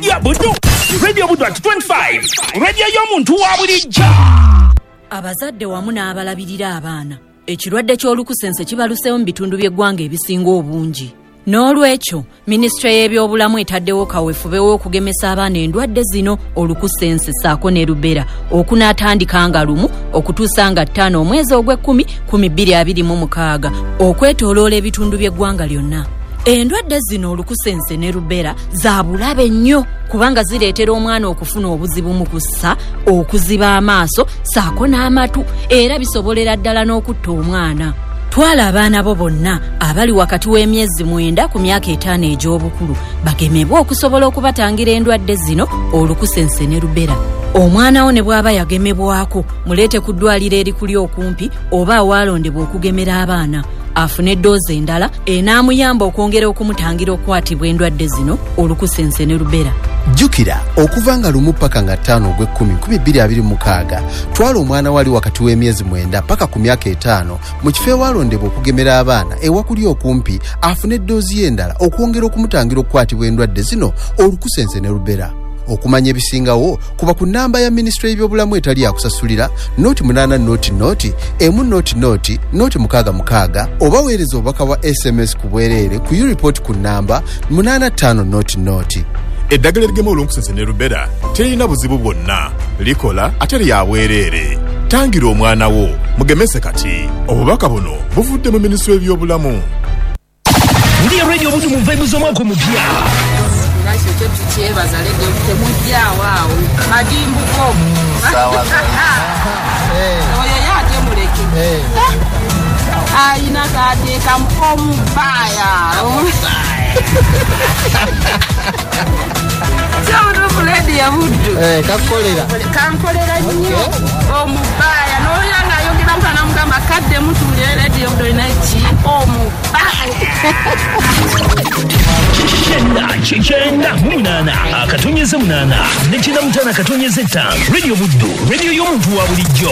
Radio Buddu, Radio Buddu at 25, radio y'omuntu wa bulijjo. Abazadde wamu n'abalabirira abaana, ekirwadde ky'olukusense kibaluseewo mu bitundu by'eggwanga ebisinga obungi. N'olwekyo, minisitule y'ebyobulamu etaddewo kaweefube w'okugemesa abaana endwadde zino olukusense ssaako ne rubella okunaatandika nga 1 okutuusa nga 5 omwezi ogw'ekumi 2026 okwetooloola ebitundu by'eggwanga lyonna. Endwadde zino olukusense ne rubella za bulabe nnyo kubanga zireetera omwana okufuna obuzibu mu kussa, okuziba amaaso ssaako n'amatu, era bisobolera ddala n'okutta omwana. Twala abaana bo bonna abali wakati w'emyezi 9 ku myaka 5 egy'obukulu bagemebwe okusobola okubatangira endwadde zino olukusense ne rubella. Omwana wo ne bw'aba yagemebwako muleete ku ddwaliro erikuli okumpi oba awalondebwa okugemera abaana afune eddoozi endala enaamuyamba okwongera okumutangira okukwatibwa endwadde zino olukusense ne rubella. Jjukira okuva nga 1 paka nga 5 ogw'ekumi 2026 twala omwana wali wakati w'emyezi 9 paka ku myaka 5 mu kifo ewalondebwa okugemera abaana ewakuli okumpi afune eddoozi endala okwongera okumutangira okukwatibwa endwadde zino olukusense ne rubella. Okumanya ebisingawo kuba ku namba ya minisitule y'ebyobulamu etali yakusasulira 08 00 1 0 0 0 66 oba weereza obubaka bwa SMS ku bwereere ku U-report ku namba 8500. Eddagala erigema olunkusense ne rubella terina buzibu bwonna, likola ate lya bwereere. Tangira omwana wo, mugemese kati. Obubaka buno buvudde mu minisitule y'ebyobulamu. Ndiyo Radio Buddu mu vibe z'omwaka omupya. Nakyo kyo tukyebaza leero temujjaawo awo. Madimbuko. Oyo ye ate muleke. Ayina k'ateekamu omubaaya. Kyomutuufu Radio Buddu. Kakukolera. Kankolera nnyo. Omubaaya. N'olya ng'ayogera mutana n'amugamba kadde mutuulire Radio Buddu olina ki? Omubaaya. 98 95.5 Radio Buddu, radio y'omuntu wa bulijjo.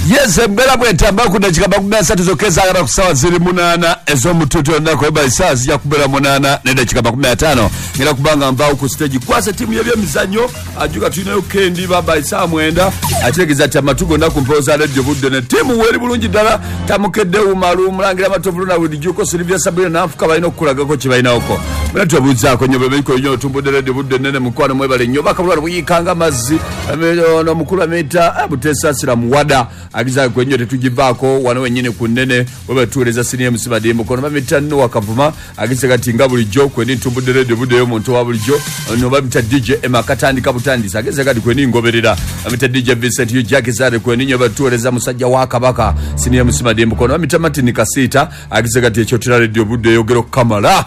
Yes, mbera bwetamba ku dakika 30 zokeza agaba ku sawa ziri 8 ez'omutuutu olunaku eba essaawa zijja kubeera 8 ne dakika 15. Ngenda kubanga nvaawo ku stage kwasa ttiimu y'ebyemizannyo ajuka tulinayo Kendi baba essaawa 9 akitegeeza nti amatu gonna ku mpewo za Radio Buddu ne ttiimu weeri bulungi ddala tamukedde Umaru Mulangira Matovu Luna Bulijjuko Silvia Sabina n'Anfuka balina okukulagako kye balinawoko. Muna tubabuuzaako nnyo bwe nnyo otumbudde Radio Buddu ennene mukwano mwebale nnyo bakabulwa buyiikanga amazzi omukulu amuyita Butesaasira Muwada agiza kwenyo tetugivaako wano wennyini ku nnene webatuweereza siniya MC Mukono bamita Noah Kavuma agise kati nga bulijjo kweni ntumbudde Radio Buddu ey'omuntu wa bulijjo ono bamita DJ Emma katandika butandisi agise kati kweni ngoberera bamita DJ Vincent Ujaki Zare kweni nnyo batuweereza musajja wa Kabaka siniya MC Mukono bamita Martin Kasita agise kati ekyotera Radio Buddu eyogera okukamala.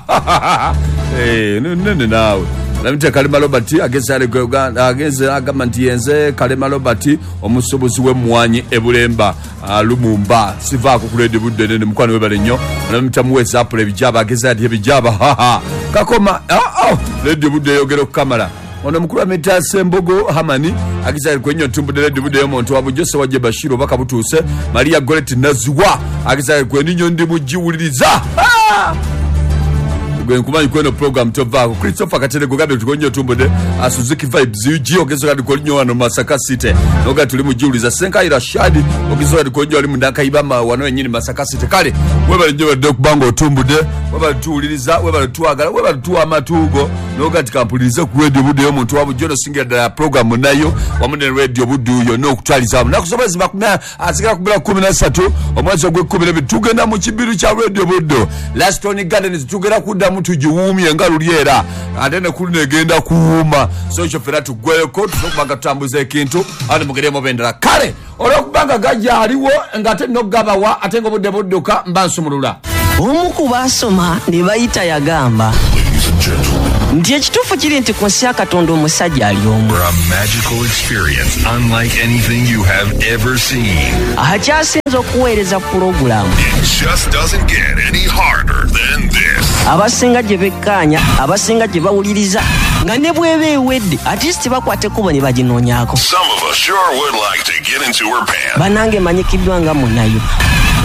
Nene naawe Namita Kalema Robert ageze ale Uganda ageze agamba nti yenze Kalema Robert omusuubuzi w'emmwanyi e Bulemba Lumumba sivaako ku Radio Buddu nene mukwano webale nnyo. Namita Muweza Apple ebijaba ageze ati ebijaba kakoma Radio Buddu eyogera okukamala. Ono mukulu amita Sembogo Hamani ageze ali kwenyo ntumbudde Radio Buddu ey'omuntu wa bulijjo Sewajje Bashir obaka butuuse Maria Goret Naziwa ageze ali kwenyo ndi mugiwuliriza. Gwe nkumanyi kweno program tovaako Christopher Katerego gabe tukonyo tumbudde Suzuki Vibes UG ogezo kati kolinyo wano Masaka City noga tuli mujiuliza Senkaira Shadi ogezo kati kolinyo ali mundaka ibama wano wennyini Masaka City kale webale nnyo badde okubanga otumbudde webale tuwuliriza webale tuwagala webale tuwa amatuugo noga tikampulirize ku Radio Buddu ey'omuntu wa bulijjo nosingira ddala program nayo wamu ne Radio Buddu yonna okutwaliza wamu naku z'omwezi asigala kubeera 13 omwezi ogw'ekkumi tugenda mu kibiru kya Radio Buddu Laston Gardens tugenda kuddamu tugiwuumye nga luli era ate ne kuluno egenda kuwuuma so ekyo ffenna tuggweyoko tusobola okubanga tutambuza ekintu ate mugeremu bendera kale olw'okubanga gajja aliwo ng'ate nno gabawa ate ng'obudde budduka mba nsumulula. Omu ku baasoma ne bayita yagamba nti ekituufu kiri nti ku nsi ya Katonda omusajja ali omu. A magical experience unlike anything you have ever seen. Akyasinze okuweereza pulogulaamu. It just doesn't get any harder than this. Abasinga gye bekkaanya, abasinga gye bawuliriza nga ne bw'eba ewedde at least bakwata ekkubo ne baginoonyaako. Some of us sure would like to get into her pants. Bannange manyikiddwa nga munayo.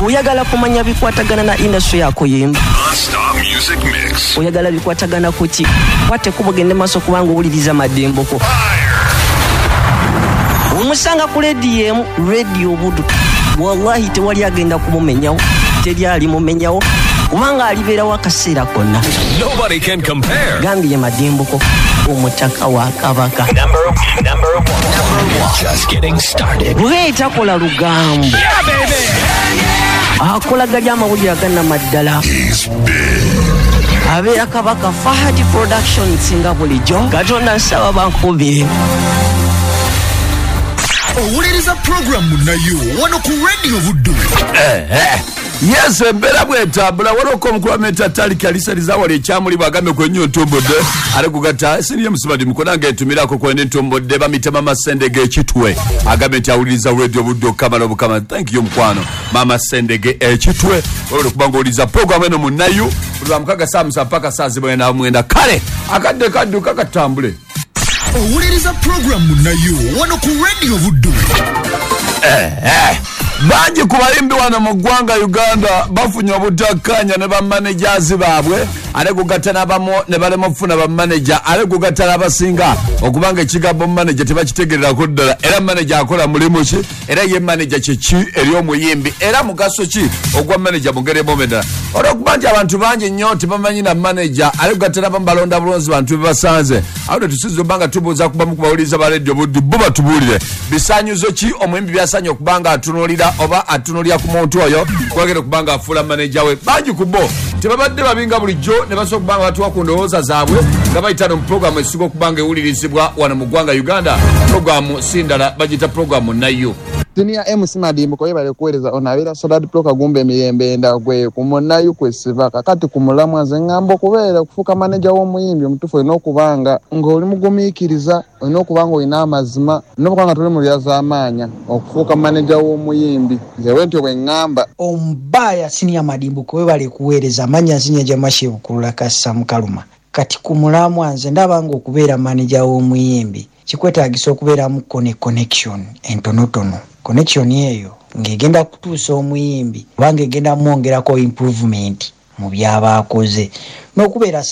Oyagala kumanya bikwatagana na industry yakuyimba. Non-stop music mix. Oyagala bikwatagana kuki? Kwate kubugende maaso kubanga owuliriza Madimboko. Omusanga ku rediyo emu, Radio Buddu. Wallahi tewali agenda kumumenyawo, teri alimumenyawo, kubanga alibeerawo akaseera konna. Nobody can compare. Gambye Madimboko, omutaka wa Kabaka. Number one. Just getting started. Bwe takola lugambo. Yeah, baby. Akola gali amawulire agannamaddala. Abeera Kabaka Fahad Productions nga bulijjo. Katonda nsaba bankubire. Owuliriza programu nayo wano ku Radio Buddu. Yes, embeera bwetambula. Waliwo omukulu ameta Taliki alisaliza wali ekyamuli bw'agambye kwenyo ntombodde ale kugatta siriye musibadi mukono nga etumirako kwende ntombodde bamitema Masendege ekitwe agambye nti awuliriza Radio Buddu okamala obukama. Thank you mukwano Mama Sendege ekitwe webale kubanga owuliriza programu eno munayu buli lwa mukaga saa 7 mpaka saa 9. Kale akadde kadduka katambule. Owuliriza programu nayo wano ku Radio Buddu. Bangi ku bayimbi wano mu ggwanga Uganda bafunye obutakkaanya ne bamanejazi baabwe, ate kugatta n'abamu ne balema okufuna bamaneja, ate kugatta n'abasinga okubanga ekigambo maneja tebakitegererako ddala. Era maneja akola mulimu ki? Era ye maneja kiki eri omuyimbi? Era mugaso ki ogwa maneja mu ngeri emu endala? Olw'okuba nti abantu bangi nnyo tebamanyi na maneja, ate kugatta n'abamu balonda bulonzi bantu be basanze. Awo tetusinza obanga tubuuza kubamu ku bawuliriza ba Radio Buddu, bo batubuulire bisaanyuzo ki omuyimbi by'asaanye okuba nga atunuulira oba atunuulira ku muntu oyo kwagera okubanga afuula maneja we. Bangi ku bo tebabadde babinga bulijjo ne basobola okubanga batuwa ku ndowooza zaabwe nga bayita no mu pulogulaamu esinga okubanga ewulirizibwa wano mu ggwanga Uganda. Pulogulaamu si ndala, bagiyita pulogulaamu nayo. Senior MC Madimboko yebale kuweereza ono abeera Solad Pro Kagumba emirembe endagwe ku munnayu kwesiva kakati ku mulamwa nze ŋŋamba okubeera okufuuka maneja w'omuyimbi omutuufu olina okubanga ng'oli mugumiikiriza, olina okuba nga olina amazima, olina okuba nga toli mu lyazaamaanya okufuuka maneja w'omuyimbi. Nze bwe ntyo bwe ŋŋamba. Omubaya Senior Madimboko webale kuweereza amannya nzinya Jamashe Bukulula Kassa Mukaluma. Kati ku mulamwa nze ndaba nga okubeera maneja w'omuyimbi kikwetaagisa okubeeramu connection entonotono. Connection eyo ng'egenda kutuusa omuyimbi oba ng'egenda mwongerako improvement mu by'aba akoze n'okubeera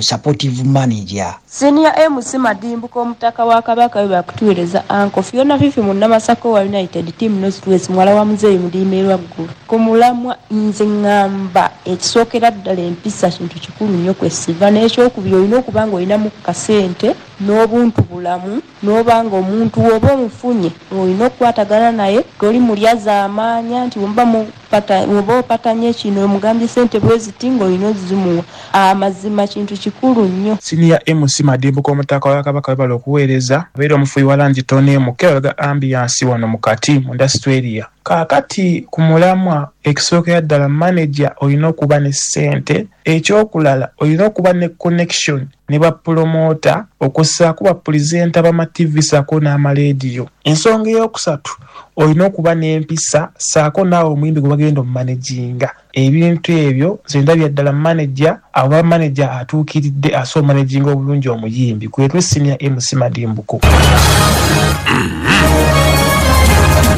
supportive manager. Senior MC Madimbuko omutaka wa Kabaka we bakutuweereza Uncle Fiona Fifi munnamasaka wa United Team North West muwala wa Muzeeyi Mudiime Lwaggulu. Ku mulamwa nze ŋŋamba ekisookera ddala empisa kintu kikulu nnyo kwesiva, n'ekyokubiri olina okuba nga olinamu kasente n'obuntu bulamu, n'oba nga omuntu w'oba omufunye olina okukwatagana naye, toli mulyazaamaanya nti bw'oba opatanye kino omugambye ssente bwe ziti ng'olina ozimuwa. Amazima kintu kikulu nnyo. Senior MC Madimbuko omutaka wa Kabaka webale okuweereza abeera omufuyi wa langi toneemu kebalaga ambiyansi wano mu kati mu Australia. Kaakati ku mulamwa ekisookera ddala maneja olina okuba ne ssente, ekyokulala olina okuba ne connection ne bapulomota okussaako bapulizenta bama TV ssaako n'amaleediyo. Ensonga ey'okusatu olina okuba n'empisa ssaako naawe omuyimbi gwe bagenda omumanejinga. Ebintu ebyo nze ndabya ddala maneja aba maneja atuukiridde asobola omanejinga obulungi omuyimbi. Kwetwe Senior MC Madimbuko.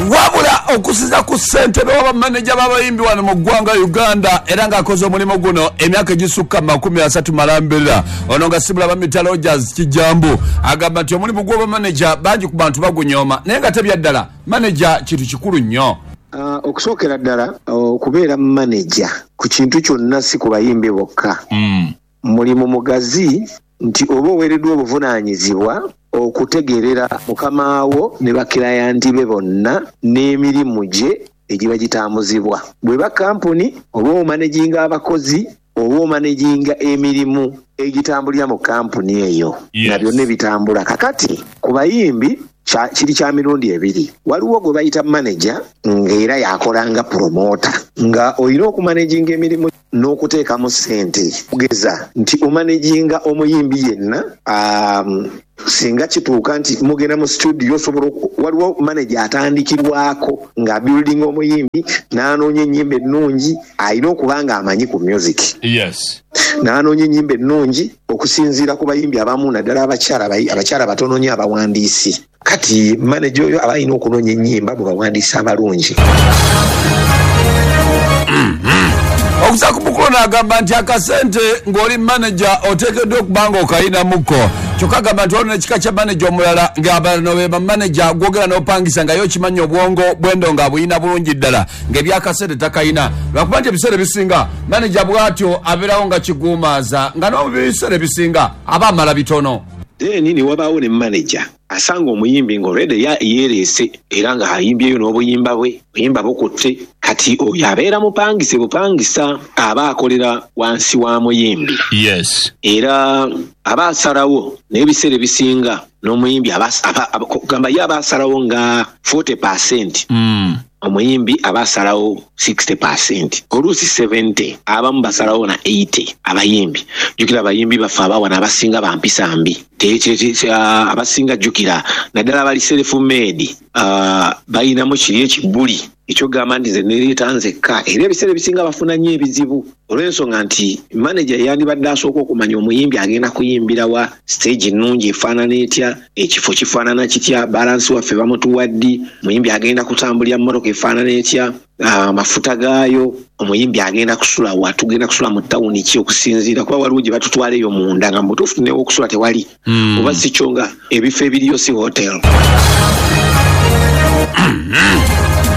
Wabula okusinza ku ssentebe w'abamaneja b'abayimbi wano mu ggwanga Uganda era ng'akoze omulimu guno emyaka egisukka 30 malambirira, ono nga sibula bamita Rogers Kijambu agamba nti omulimu gw'obamaneja bangi ku bantu bagunyooma, naye nga tebya ddala maneja kintu kikulu nnyo. Okusookera ddala okubeera maneja ku kintu kyonna si ku bayimbi bokka. Mulimu mugazi nti oba oweereddwa obuvunaanyizibwa okutegeerera mukamaawo ne bakirayanti be bonna n'emirimu gye egiba gitambuzibwa. Bw'eba kampuni oba omanejinga abakozi oba omanejinga emirimu egitambulira mu kampuni eyo, na byonna ebitambula. Kakati ku bayimbi kiri kya mirundi ebiri. Waliwo gwe bayita maneja ng'era yakolanga promota, nga olina okumanejinga emirimu n'okuteekamu ssente. Kugeza nti omanejinga omuyimbi yenna, singa kituuka nti mugenda mu studio osobola waliwo manager atandikirwako nga building omuyimbi n'anoonya ennyimba ennungi, alina okuba nga amanyi ku music. Yes. N'anoonya ennyimba ennungi okusinziira ku bayimbi abamu naddala abakyala batono nnyo abawandiisi. Kati manager oyo aba alina okunoonya ennyimba mu bawandiisi abalungi. Okusa ku mukulu n'agamba nti akasente ng'oli manager oteekeddwa okuba nga okayinamuko. Kyokka agamba nti waliwo n'ekika kya manager omulala ng'abano be bamanager gwogera n'opangisa nga ye okimanyi obwongo bwendo nga abuyina bulungi ddala ng'ebyakasente takayina, lwakuba nti ebiseera ebisinga manager bw'atyo abeerawo nga kiguumaaza nga n'omu biseera ebisinga aba amala bitono. Then ne wabaawo ne manager asanga omuyimbi nga already yeereese era ng'ayimbyeyo n'obuyimba bwe, buyimba bukutte. Kati oyo abeera mupangise bupangisa, aba akolera wansi wa muyimbi. Era aba asalawo n'ebiseera ebisinga n'omuyimbi kugamba ye aba asalawo nga 40%, omuyimbi aba asalawo 60%, oluusi 70, abamu basalawo na 80. Abayimbi, jjukira abayimbi baffe abawana abasinga bampisa mbi. Abasinga, jjukira naddala abali self made, balinamu kiri ekibuli ekyogamba nti nze nereeta nzekka, era ebiseera ebisinga bafuna nnyo ebizibu olw'ensonga nti manager yandibadde asooka okumanya omuyimbi agenda kuyimbira wa, stage nnungi efaanana etya, ekifo kifaanana kitya, balance waffe bamutuwa ddi, omuyimbi agenda kutambulira mmotoka efaanana etya, amafuta gaayo, omuyimbi agenda kusula wa, tugenda kusula mu tawuni ki, okusinziira kuba waliwo gye batutwala eyo munda nga mubutuufu newokusula tewali, oba si kyo nga ebifo ebiriyo si hotel.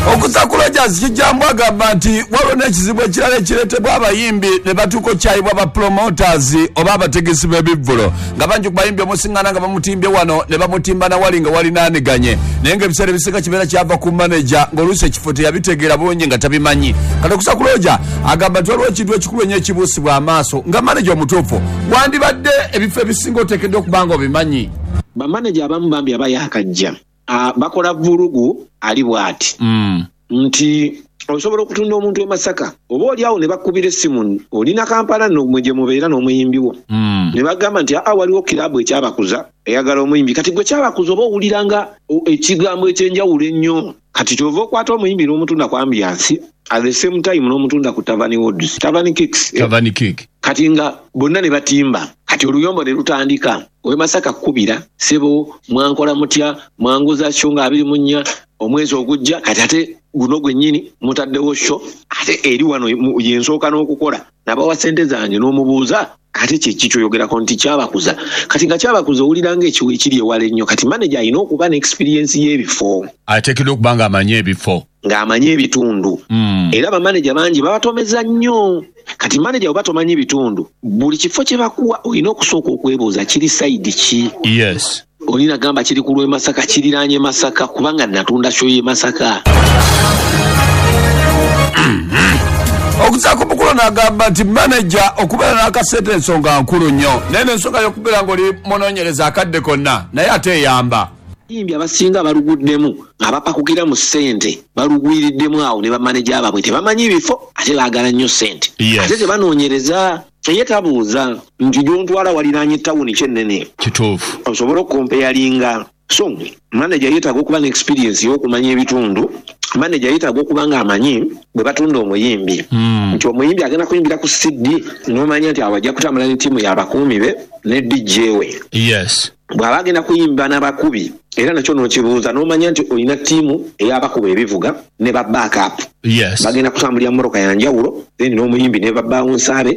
Okuza ku Rogers Kijambo agamba nti waliwo n'ekizibu ekirala ekireetebwa abayimbi ne batuuka okyayibwa ba promoters oba abategesi b'ebivvulo, nga bangi ku bayimbi omusiŋŋana nga bamutimbye wano ne bamutimba nawali nga walinaaniganye, naye ng'ebiseera ebisinga kibeera kyava ku manager ng'oluusi ekifo teyabitegeera bulungi nga tabimanyi. Kati okusa ku Roger agamba nti waliwo ekintu ekikulu ennyo ekibuusibwa amaaso nga manager omutuufu wandibadde ebifo ebisinga oteekeddwa okuba nga obimanyi. Bamaneja abamu bambi aba yakajja, bakola vulugu ali bw'ati nti osobola okutunda omuntu e Masaka oba oli awo ne bakubira essimu, olina Kampala nno mwe gye mubeera n'omuyimbi wo, ne bagamba nti aa, waliwo kiraabu ekyabakuza eyagala omuyimbi. Kati gwe kyabakuza oba owulira nga ekigambo ekyenjawulo ennyo. Kati kyova okwata omuyimbi n'omutunda ku Ambiance, at the same time n'omutunda ku Tavani Woods, Tavani Kicks. Tavani Kick. Kati nga bonna ne batimba, kati oluyombo ne lutandika. Owe Masaka kkubira, "Sebo, mwankola mutya? Mwanguza show nga 24 omwezi ogujja, kati ate guno gwennyini mutaddewo show ate eri wano yensooka n'okukola, nabawa sente zange." N'omubuuza ate kyeki kyoyogerako nti kyabakuza. Kati nga kyabakuza owulira nga ekiwo ekiri ewala ennyo. Kati manager alina okuba ne experience y'ebifo. Ateekeddwa okuba nga amanyi ebifo. Ng'amanyi ebitundu. Era bamaneja bangi babatomeza nnyo. Kati maneja bwe batomanyi ebitundu, buli kifo kye bakuwa olina okusooka okwebuuza kiri side ki. Olina gamba kiri ku lw'e Masaka, kiriraanye Masaka, kubanga natunda show y'e Masaka. Okuzaako mukulu n'agamba nti manager okubeera n'akasente ensonga nkulu nnyo, naye n'ensonga y'okubeera ng'oli munoonyereza akadde konna naye ate eyamba. Abayimbi abasinga baluguddemu, abapakukira mu ssente balugwiriddemu awo ne bamaneja baabwe tebamanyi bifo, ate baagala nnyo ssente. Ate tebanoonyereza, ye tabuuza nti gyontwala waliraanye tawuni kyennene osobole okukompeyalinga. So manager yeetaaga okuba ne experience y'okumanya ebitundu. Manager yeetaaga okuba nga amanyi bwe batunda omuyimbi, nti omuyimbi agenda kuyimbira ku CD, n'omanya nti awo ajja kutambula ne ttiimu y'abakuumi be ne DJ we. Bw'aba agenda kuyimba n'abakubi, era nakyo n'okibuuza n'omanya nti olina ttiimu ey'abakuba ebivuga ne ba backup, bagenda kutambulira mmotoka ya njawulo, then n'omuyimbi ne ba bouncer be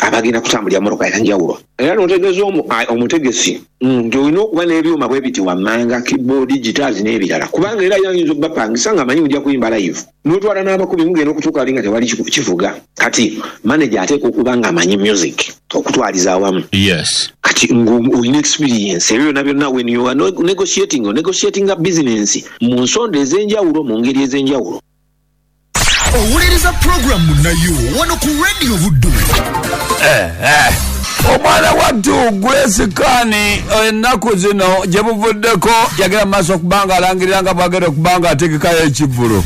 abagenda kutambulira mmotoka ya njawulo. Era n'otegeeza omutegesi nti olina okuba n'ebyuma bwe biti wammanga, keyboard, guitars n'ebirala, kubanga era yayinza obbapangisa nga amanyi ojja kuyimba live, n'otwala n'abakubi, mugenda okutuuka ali nga tewali kivuga. Kati manager ateekwa okuba nga amanyi music okutwaliza awamu. Kati ng'olina experience ebyo byonna byonna, when you are negotiating, negotiatinga business mu nsonda ez'enjawulo, mu ngeri ez'enjawulo. Owuliriza puroguramu nayo wano ku Radio Buddu. Omwana wattu Grace Khan ennaku zino gye buvuddeko yagenda mu maaso okuba nga alangirira nga bwagenda okuba nga ategekayo ekivvulu.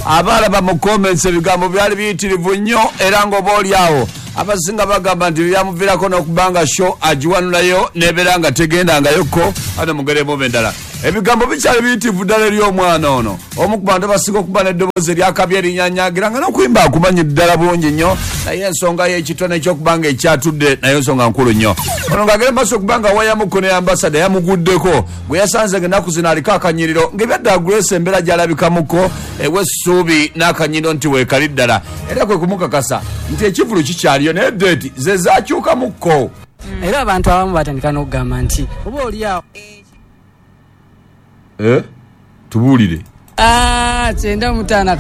Abaalaba mu comments ebigambo byali biyitirivu nnyo, era ng'oba oli awo abasinga bagamba nti byamuviirako n'okuba nga show agiwanulayo nebeera nga tegendangayokko ate mugere muba endala. Ebigambo bikyali biyitivu ddala eri omwana ono, omu ku bantu abasinga okuba n'eddoboozi eryakabi erinyanyagira nga n'okuyimba akumanyi ddala bulungi nnyo, naye ensonga y'ekitone ekyokuba nga ekyatudde naye ensonga nkulu nnyo. Ono ng'agenda maaso okuba nga wayamuko ne ambasada yamuguddeko gwe yasanze ng'ennaku zino aliko akanyiriro ng'ebyadda Grace embeera gy'alabikamuko ewa essuubi n'akanyiriro nti weekali ddala, era kwe kumukakasa nti ekivulu kikyaliyo naye deeti ze zaakyukamukko. Era abantu abamu batandika n'okugamba nti oba oli awo Tubuulire. 95.5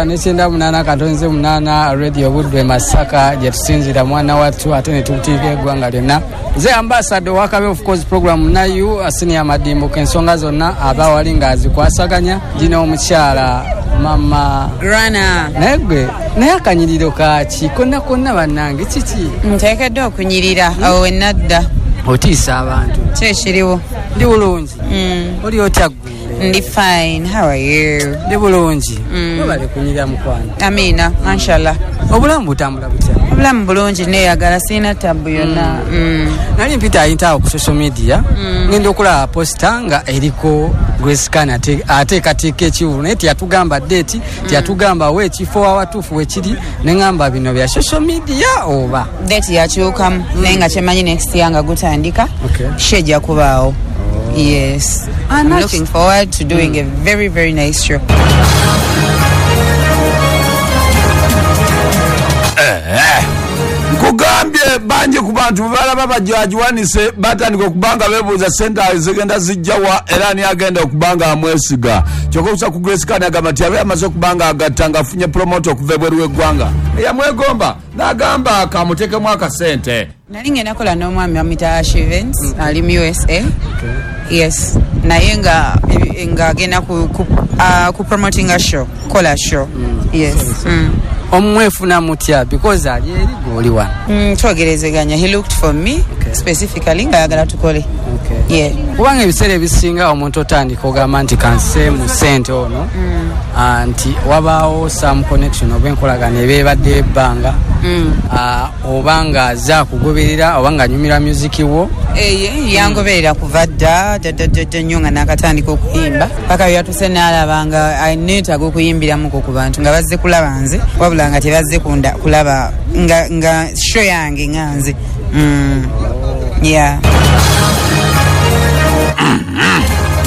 98.8 Radio Budwe Masaka gye tusinziira mwana wattu ate ne tutiika eggwanga lyonna. Nze ambassador wa Kabe of course program nayu Senior Madimbuko ensonga zonna aba wali ng'azikwasaganya gino omukyala mama Grana. Naye gwe naye akanyiriro kaki konna konna bannange kiki? Nteekeddwa okunyirira awo we nadda. Otiisa abantu. Ki ekiriwo? Ndi bulungi. Oli otya ggwe? Ndi fine. How are you? Ndi bulungi. Webale kunyirira mukwano. Amiina, mashallah. Obulamu butambula butya? Obulamu bulungi neeyagala sirina tabbu yonna. Nali mpita ayinta awo ku social media ngenda okulaba posta nga eriko Grace Khan ateekateeka ekivvulu naye teyatugamba date, teyatugamba we ekifo awatuufu wekiri, ne ŋŋamba bino bya social media oba date yakyukamu naye nga kyemanyi next year nga gutandika show ejja kubaawo. Yes, I'm looking forward to doing a very very nice show. Nkugambye bangi ku bantu bwe balaba bajagiwanise batandika okuba nga beebuuza ssente zigenda zijjawa era ani agenda okuba nga amwesiga. Kyokka okusa ku Grace Khan agamba nti abe amaze okuba nga agatta ng'afunye promoter okuva ebweru w'eggwanga eyamwegomba n'agamba kamuteekemu akasente. Nali ngenda kola n'omwami bamuyita Ash Events ali mu USA. Yes, naye nga ng'agenda ku promoting a show, kola show. Yes. Omwefuna mutya because ali eri gw'oli wano? Twogerezeganya. He looked for me specifically ng'ayagala tukole. Yeah. Kubanga ebiseera ebisinga omuntu otandika ogamba nti kanseemu ssente ono nti wabaawo some connection oba enkolagano eba ebadde ebbanga oba ng'azze akugoberera oba ng'anyumira music wo. Yangoberera kuva dda dda nnyo nga nakatandika okuyimba paka yatuse n'alaba nga neetaaga okuyimbiramuko ku bantu nga bazze kulaba nze wabula nga tebazze kulaba nga show yange nga nze. Yeah.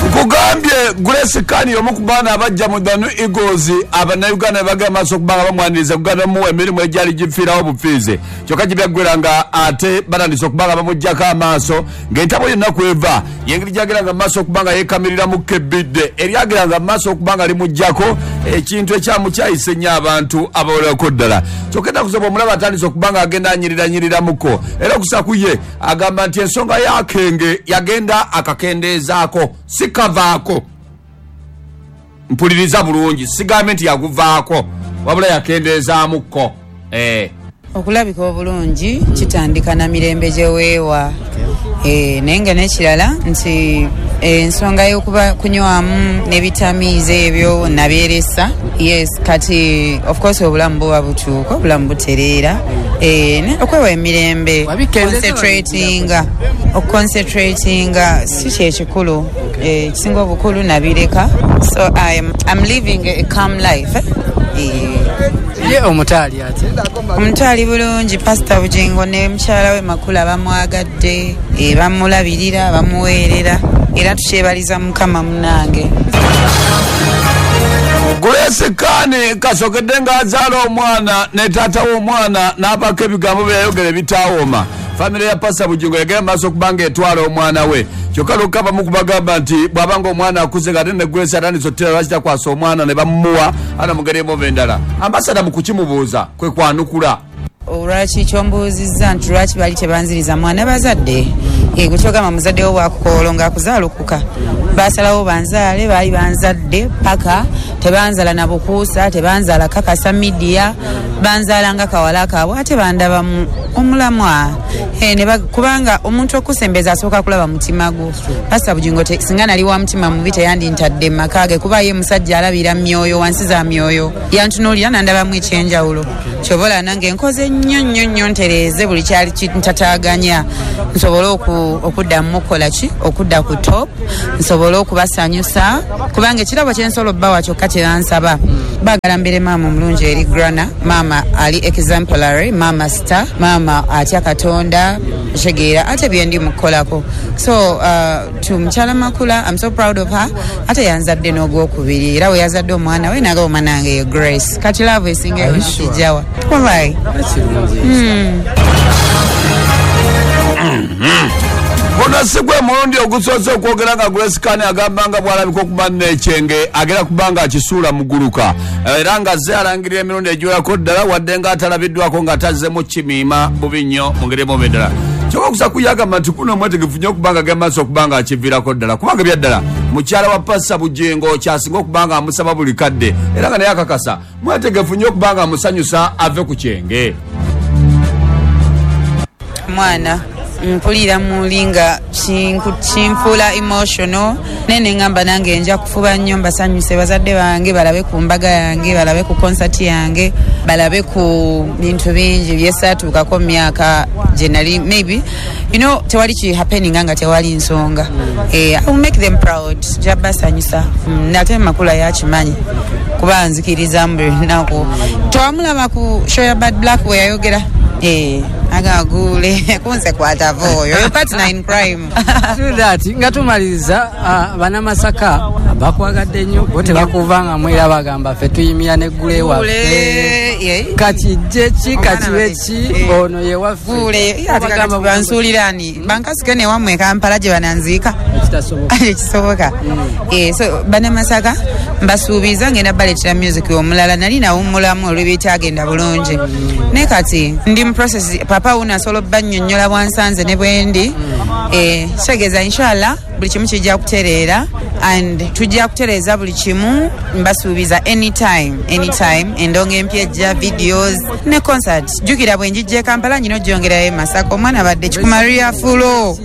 Nkugambye Grace Khan omu ku baana abajja mu The New Eagles abannayuganda bagenda maaso okuba nga bamwaniriza kuganda muwa emirimu egyali gifiirawo bufiize, kyokka gibyaggwera nga ate batandise okuba nga bamuggyako amaaso ng'entabo yonna kweva y'engeri gyagera nga maaso okuba nga yeekamiriramu kebbidde eryagera nga maaso okuba nga limuggyako ekintu ekyamukyayise ennyo abantu abawerako ddala. Kyokka ennaku zino bw'omulaba atandise okuba nga agenda anyirirannyiriramuko era okusa ku ye agamba nti ensonga y'akenge yagenda akakendeezaako si kavaako. Mpuliriza bulungi, sigambe nti yaguvaako wabula yakendeezaamuko. Okulabika obulungi kitandika na mirembe gye weewa. Naye nga n'ekirala nti ensonga y'okuba kunywamu n'ebitamiiza ebyo nabyeresa. Yes, kati of course obulamu buba bukyuka, obulamu butereera. Okwewa emirembe, okuconcentratinga si kyekikulu. Ekisinga obukulu nabireka. So I'm living a calm life. Ye omutaali atya? Omutaali bulungi. Pastor Bugingo ne mukyala we Makula bamwagadde, bamulabirira, bamuweerera era tukyebaliza Mukama munnange. Grace Khan kasokedde ng'azaala omwana ne taata w'omwana n'abaako ebigambo bye yayogera ebitawooma. Famire ya Pastor Bugingo yagenda maaso okuba ng'etwala omwana we, kyokka lukka abamu kubagamba nti bw'aba ng'omwana akuze ng'ate ne Grace atandise otera lwaki takwasa omwana ne bamuwa ana mu ngeri emu endala. Ambasada mu kukimubuuza kwe kwanukula. Olwaki kyombuuzizza nti lwaki bali tebanziriza mwana bazadde? Gwe kyogamba muzadde wo bw'akukoolo ng'akuzaalukuka. Baasalawo banzaale, baali banzadde paka tebanzala na bukuusa, tebanzaala kakasa media. Banzaala nga kawala kaabwe ate bandabamu omulamwa. Kubanga omuntu okusembeza asooka kulaba mutima gwo. Pastor Bujingo singa nali wa mutima mubi teyandintadde mu maka ge, kuba ye musajja alabira myoyo, wansi za myoyo. Yantunuulira nandabamu ekyenjawulo. Kyobola nange nkoze nnyo nnyo nnyo ntereeze buli kyali kintataaganya, nsobole okuddamu okukola ki, okudda ku top, nsobole okubasanyusa, kubanga ekirabo kye nsobola obbawa kyokka kye bansaba. Baagala mbeere maama omulungi eri Grana, maama ali exemplary, maama star, maama atya Katonda, kitegeera ate bye ndi mu kukolako. So to mukyala Makula, I'm so proud of her. Ate yanzadde n'ogwokubiri, era we yazadde omwana we naga omwana wange ye Grace. Kati love esinga Are you yonna sure? kijjawa. Wallahi. Guno si gwe mulundi ogusoose okwogera nga Grace Khan agamba nga bw'alabika okuba n'ekyenge agera kuba nga akisuula muguluka, era nga azze alangirira emirundi egiwerako ddala, wadde nga atalabiddwako nga tazzemu kimiima bubi nnyo mu ngeri emu oba endala. Kyokka okusa kuyagamba nti kuno omwetegefu nnyo okuba nga agenda maaso okuba nga akiviirako ddala, kubanga ebyaddala mukyala wa Pastor Bujingo kyasinga okuba nga amusaba buli kadde, era nga naye akakasa mwetegefu nnyo okuba nga amusanyusa ave ku kyenge. Mwana mpulira muli nga kinfuula emotional, naye ne ŋŋamba nange nja kufuba nnyo mbasanyuse bazadde bange, balabe ku mbaga yange, balabe ku concert yange, balabe ku bintu bingi byesaatuukako mu myaka gye nali. Maybe tewali ki happening nga tewali nsonga. I will make them proud, nja basanyusa. Ate Makula yakimanyi kuba nzikiriza mu buli lunaku. Twamulaba ku show ya Bad Black we yayogera. Agagule kunze kwatava oyo, your partner in crime. True that. Nga tumaliriza, Bannamasaka bakwagadde nnyo, bo tebakuvangamu era bagamba ffe tuyimira n'eggule waffe. Gule, ye. Kati jje ki, Omwana kati waffe. ki, ono ye waffe. Gule, ye, ate Bagamba kati bansuulira ani? Bankasike ne wammwe e Kampala gye bananziika. Ekitasoboka. Ekisoboka. So Bannamasaka mbasuubiza ngenda baleetera music omulala, nali nawummulamu olw'ebitagenda bulungi. Naye kati ndi mu process, papa wuno asobola obbannyonnyola bwansanze ne bwendi. Kitegeeza inshallah buli kimu kijja kutereera, and tujja kutereeza buli kimu, mbasuubiza anytime, anytime. Endongo empya ejja, videos ne concert. Jjukira bwe njijja e Kampala nyina ogyongerayo e Masaka, omwana abadde Kikumaria Fulo.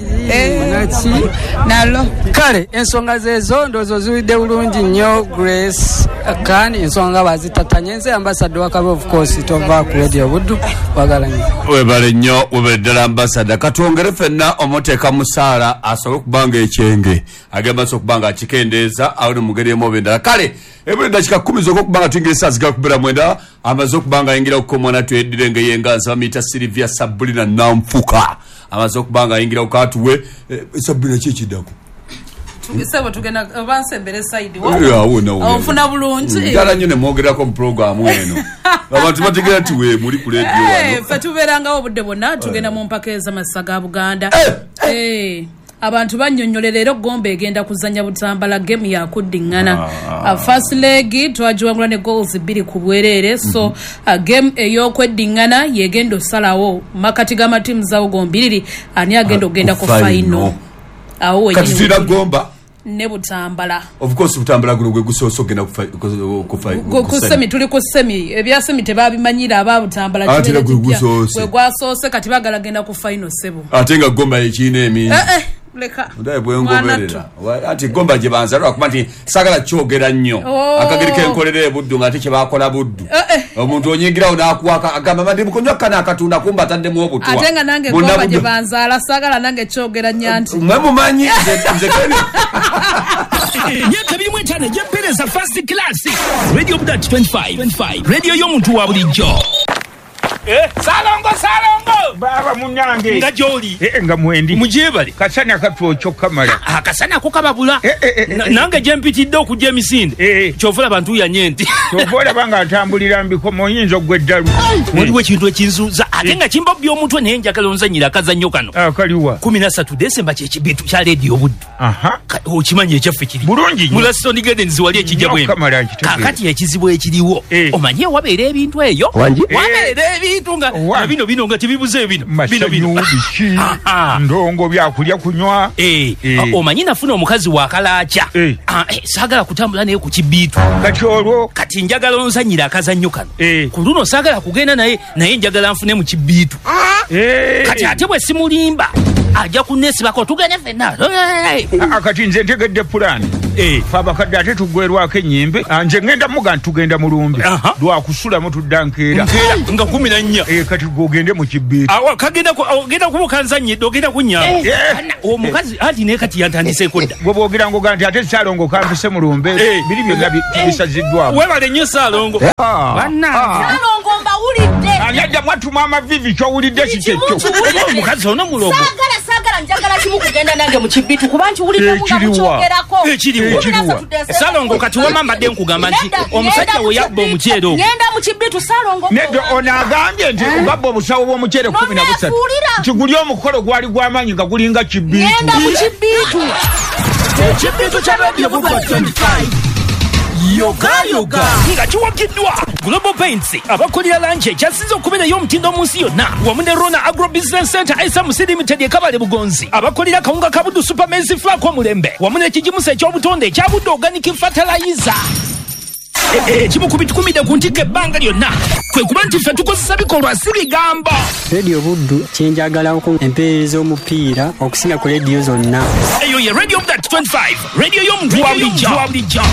Nalo. Kale ensonga zezo ndowooza oziwulidde bulungi nnyo Grace Khan, ensonga bazitatanye. Nze ambassador wa Kabe, of course tova ku Radio Buddu, wagala nnyo. Webale nnyo, webale ddala ambassador. Katwongere ffenna omuteeka musaala asobole okuba nga ekyenge agenda maaso okuba nga akikendeeza awo ne mu ngeri emu oba endala. Kale ebuli eddakiika 10 zokka okuba nga tuyingira essaawa zigala kubeera 9, amaze okuba nga ayingira ku omwana tweddire ng'eyenga nsaba miyita Sylvia Sabrina Nanfuka, amaze okuba nga ayingira ku atuwe. Sabrina ki ekiddako? Sebo tugenda oba nsembere side wa? Awo nawo. Ofuna bulungi. Njala nnyo ne mwogerako mu pulogulaamu eno. Abantu bategeera nti we muli ku leediyo wano. Ffe tubeerangawo obudde bwonna, tugenda mu mpaka ez'amasa ga Buganda. Abantu bannyonnyolera era Gomba egenda kuzannya Butambala, game yakuddiŋŋana. First leg twagiwangula ne goals 2 ku bwereere, so game ey'okweddiŋŋana yegenda osalawo makati g'amatiimu zaawo gombiriri ani agenda okugenda ku final. Awo Kati wennyini tulina wetuli. Gomba ne Butambala. Of course Butambala guno gwe gusoose ogenda ku Ku semi, tuli ku semi. Ebya semi tebabimanyira aba Butambala. Ate Kibeera era gwe kipya. gusoose. Gwe gwasoose, kati baagala genda ku final sebo. Ate nga Gomba ekirina emingi. Leka. Ndaye bwe ngoberera. Anti Gomba gye banza lwakuba nti saagala kyogera nnyo. Akageri kenkolera e Buddu ng'ate kye baakola Buddu. Omuntu onyingirawo n'akuwaka agamba mandi mukunywa kano akatunda kumba ataddemu obutwa. Ate nga nange Bonna Gomba gye Buddu. banzaala saagala nange kyogera nnyo nti. Mwe mumanyi, nze kene. Emyaka 25 egy'empeereza first class. Radio Buddu 25. 25. Radio y'omuntu wa bulijjo. Salongo, Salongo! Baaba munnange. Nga gy'oli. Nga mwendi. Mugyebale. Kasana katwokya okukamala. Akasana ako kababula. Nange gye mpitidde okujja emisinde. Ky'ova olaba ntuuyanye nti. Ky'ova olaba nga ntambulira mbikomo oyinza oggwa eddalu. Waliwo ekintu ekinzuuza ate nga kimbobya omutwe naye njagala onzannyire akazannyo kano. Akaliwa. 13 Desemba kye kibintu kya leediyo Buddu. Okimanyi ekyaffe kiri. Bulungi nnyo. Mu Laston Gardens wali ekijja Nnyo bwembi. okukamala nkitegeera. Kaakati ekizibu ekiriwo. Omanyi wabeera ebintu eyo? Wangi? Wabeera ebintu nga bino bino nga tebibuze ebintu. bino bino bino. Masanyu, biki, ndongo, byakulya, kunywa. Omanyi nafuna omukazi wakalaaca. Saagala kutambula naye ku kibiitu. Kati olwo? Kati njagala onzanyira akazannyo kano. Ku luno saagala kugenda naye, naye njagala nfune mu kibiitu. Kati ate bwe simulimba ajja kunneesibako tugende ffenna. Kati nze ntegedde pulaani. Fe abakadde ate tuggwerwako ennyimbe. Nze ngenda muga nti tugenda mulumbe lwakusulamu tudda nkeera. Nkeera nga 14. Kati gwe ogende mu kibiitu. Awa, kagenda ogenda kuba okanzannyidde, ogenda kunnyamba. Omukazi anti naye kati yantandiseeko dda. Gwe bw'ogira ngoga nti ate Ssaalongo kampise mulumbe, biri byonna bisaziddwamu. Weebale nnyo Ssaalongo. Bannange. Ssaalongo mbawulidde. Ani ajja mwatuma amavivi ky'owulidde si kyekyo. Omukazi ono mulogo. Saagala njagala kimu kugenda nange mu kibitu kuba nkiwuliddemu nga mukyogerako. Ekiriwa. Ssaalongo kati wamma mbadde nkugamba nti omusajja we yabba omuceere ogwo. Ngenda mu kibitu Ssaalongo. Nedda ono agambye nti babba obusawo bw'omuceere 13. Nti guli omukolo gwali gw'amaanyi nga gulinga kibitu. Ngenda mu kibitu. Ekibitu kya Radio Budwa 25. Yoga yoga nga kiwagiddwa Global Paints abakolera langi ekyasinze okubeerayo omutindo mu nsi yonna wamu ne Rona Agro Business Center SMC Limited e Kabale Bugonzi abakolera kawunga ka Buddu Super Maize Flour omulembe wamu n'ekigimusa eky'obutonde ekya Buddu Organic Fertilizer. Ekimu ku bitukumidde ku ntikko ebbanga lyonna kwe kuba nti ffe tukozesa bikolwa si bigambo. Radio Buddu kyenjagalako empeereza omupiira okusinga ku rediyo zonna. Eyo ye Radio Buddu 25, radio y'omuntu wa bulijjo.